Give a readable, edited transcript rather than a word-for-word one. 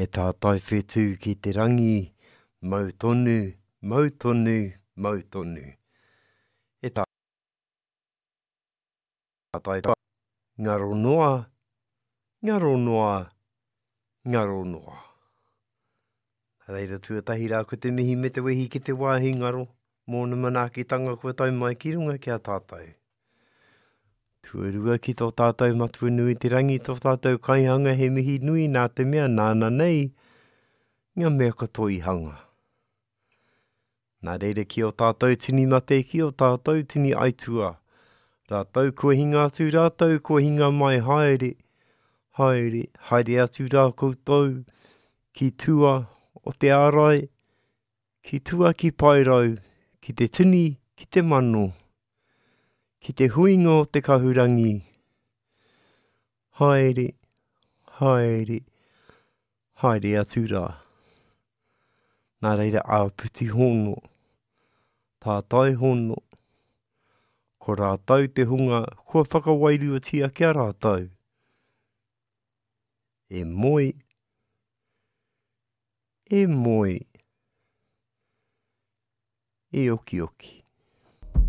He tātai whetū ki te rangi, mau tonu, mau tonu, mau tonu. He tātai ngaro noa, ngaro noa, ngaro noa. Nā reira tuatahi rā ko te mihi me te wehi ki te wāhi ngaro mōna manaakitanga kua tae mai ki runga ki a tātou. Tuarua ki tō tātou Matua nui te rangi, tō tātou kaihanga he mihi nui nā te mea nāna nei ngā mea katoa i hanga. Nā reira ki ō tātou tini mate, ki ō tātou tini aituā, rātou kua hinga atu, rātou kua hinga mai, haere, haere, haere atu rā koutou ki tua o te ārai, ki tua ki Paerau, ki te tini, ki te mano, ki te huinga o te kahurangi, haere, haere, haere atu rā. Nā reira āpiti hono, tātai hono, ko rātou te hunga kua whakawairuatia ki a rātou. E moe, e moe, e okioki.